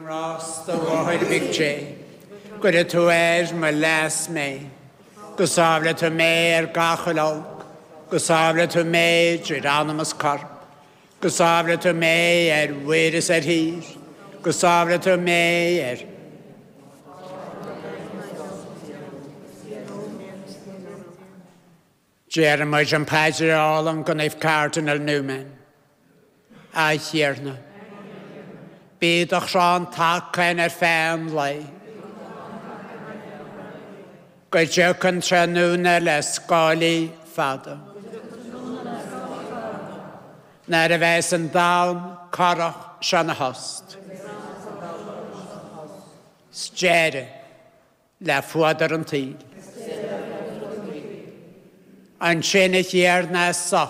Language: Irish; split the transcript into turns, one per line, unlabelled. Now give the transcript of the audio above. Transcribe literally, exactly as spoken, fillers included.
Ngrást, a Mháthair Mhic Dé, gcuire tú ar mo leas mé, go sábhála tú mé ar gach uile olc, go sábhála tú mé idir anam is corp, go sábhála tú mé ar mhuir is ar thír, go sábhála tú mé ar Deirimid an phaidir álainn go Naomh Cardinal Newman. A Thiarna. Bíodh do chrann taca againn ar feadh an lae. Go dtiocfaidh an tráthnóna le scáilí fada. Nuair a bheas an domhan corrach seo ina thost. 'S deireadh le fuadar an tsaoil. Ansin a Thiarna soch.